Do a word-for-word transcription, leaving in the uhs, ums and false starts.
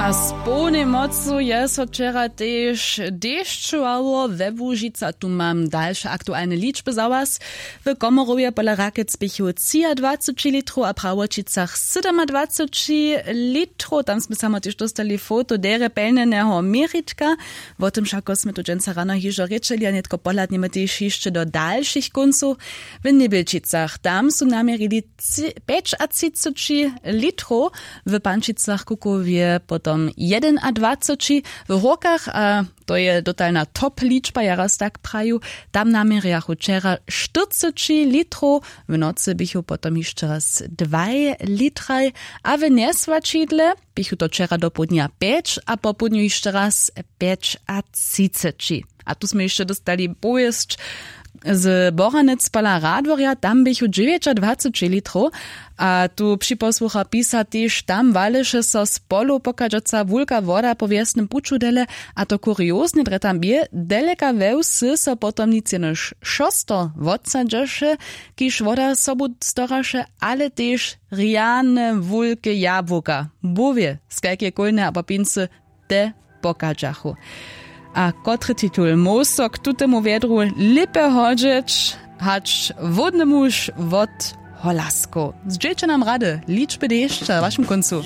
A z połnej mocu je so wčera tež dešćowało we łužica tu mam dalše aktualne ličby za was. W komorowje pola rakec běchu třiadwaceći litrow a prawoćicach sydomadwaceći litrow tam smy samo tež dóstali foto derje pelnjeneho měritka. Wo tym wšako smy tu dźensa rano hižo rěčeli a nětko pohladnjemy tež hišće do dalšich kóncow. W njebjelčicach tam su naměrili pjećatřiceći litrow, w pančicach kukowje potom jedynadwaceći, w hórkach a to je dotalna top ličba ja raz tak praju, tam naměrjachu wčera štyrceći litrow. W nocy běchu potom hišće raz dwaj litraj, a w njeswaćidle běchu to wčera dopołdnja pjeć a popołdnju hišće raz pjećatřiceći. A tu smy hišće dóstali powěsć z boranec pola radworja tam běchu dźewjećadwaceći litrow. A tu připosłucha pisa tež tam waleše so z polow pochadźaca wulka woda po wjesnym puću dele. A to kurioznje drje tam bě deleka we wsy so potom nic jenož šosto wotsadźeše, kiž woda sobu storaše, ale tež rjane wulke jabłuka bówje skajke kólne a popincy te pochadźachu. A kotry titul móhł so k tutemu wjedru lěpje hodźeć hač hłódny muž wot holaskow? Zdźělće nam rady ličby dešća w wašim kóncu.